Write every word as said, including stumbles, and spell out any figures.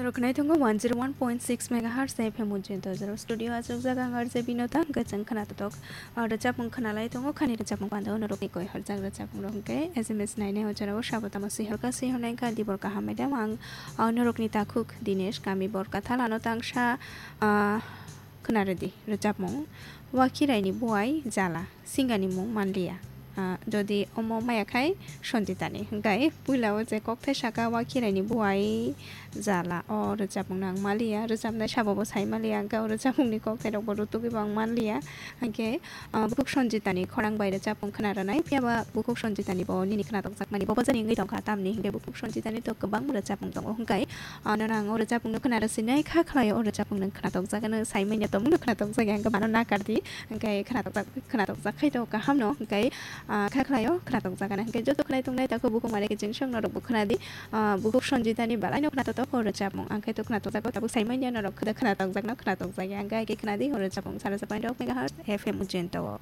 Rwkhnai tongo one zero one point six megahertz F M Ujjayanta Jaro studio achukjak ang R J Binota, hwnkhe chwng khwnatok, ah, rwchapmung khwnalai tongo, khani rwchapmung pando norokni koi horjak rwchapmung rok hwnkhe S M S nainai o jorao sabo tamo sihorkha sihornai wngkha dibor kaham madam ang, ah, norokni takhuk Dinesh kami Borkathal ano tangsa, ah, khwnarwdi rwchapmung Wakhiraini buai jala. Singani mung manliya. Ah, jodi omo maya khai Sanjitani. Hwnkhe puila o je kokthai saka Wakhiraini buai jala. O rwchapmung no ang manliya. Rwchapnai sabo bo sai manliya. Hwnkhe o rwchapmungni kokthai rok bo rutugwi bo ang manliya. Hwnkhe, ah, bukhuk Sanjitani khorang bai rwchapmung khwna rwnai. Phiya ba bukhuk Sanjitani bo nini khwnatok jakmani bo bojani wngwi tongkha tamni. Hwnkhe bukhuk Sanjitani to kwbang rwchapmung tongo. Hwnkhe, ah, nono ang o rwchapmung no khwna rwsinai kha khlai o rwchapmung no khwnatok jakano sai manya tongmung no khwnatok jagya. Hwnkhe mano nakardi. Hwnkhe khwnatok jak, khwnatok jak khai to kaham no, hwnkhe, ah, kha khlaio khwnatok jak gana. Hwnkhe joto khwnai tongnai takhuk bukhuk mare kiching song norok bo khwnadi, ah, bukhuk Sanjitani belai no khwnatok tok o rwchapmung. Ang khe to khwnatok jago tabuk sai manya norok khwda khwnatok jak no khwnatok jak ya. Hwnkhe hai khe khwnadi o rwchapmung sara sa point rok megahertz F M Ujjayanta o.